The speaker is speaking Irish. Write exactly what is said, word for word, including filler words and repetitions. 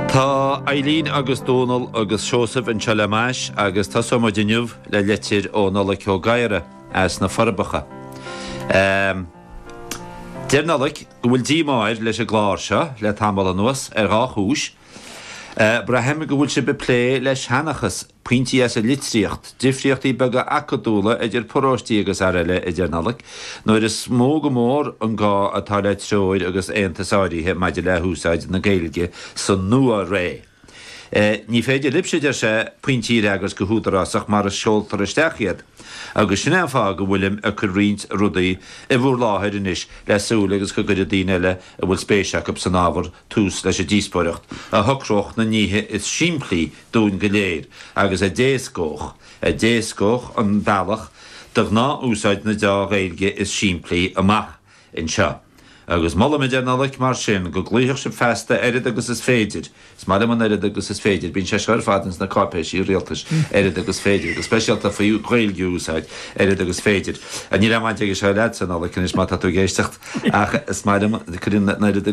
Tá Eileen agus Dónal agus Seosamh anseo le m'ais agus tosóimid inniu le litir ó Nollaig Ó Gadhra as na Forbacha. Um, Deir Nollaig go bhfuil díomá air leis an gclár seo le tamall anuas ar dhá chúis. Uh, Braithim go bhfuil sibh ag plé le seanchas pointí as an litríocht, difríochtaí beaga acadúla idir paróistí agus araile a deir Nollaig, nuair is mó go mór an gá atá le treoir agus aontas áirithe maidir le húsáid na Gaeilge sa nua-ré. E, ní féidir libhse deir sé pointí a fhreagairt go húdarásach mar a seoltar isteach iad. Agus sin an fáth go bhfuilim ag cur roinnt rudaí i bhur láthair anois le súil agus go gcuirfidh daoine eile a bhfuil spéis acu san ábhar tús leis an díospóireacht a shocródh na nithe is simplí dúinn go léir agus a d'éascódh a d'éascódh an bealach do ghnáthúsáid na dea-Ghaeilge is simplí amach anseo. Agus molaim a deir Nollaig mar sin go gcloífeadh sibh feasta oiread agus is féidir. Is maith liom an oiread agus is féidir, bíonn sé seo ar fad ins na cáipéisí rialtais oiread agus féidir, go speisialta faoi Ghaeilge a úsáid oiread agus féidir. Níl aon bhaint aige seo leatsa Nollaig anois má tá tú ag éisteacht ach is maith liom cuireann an oiread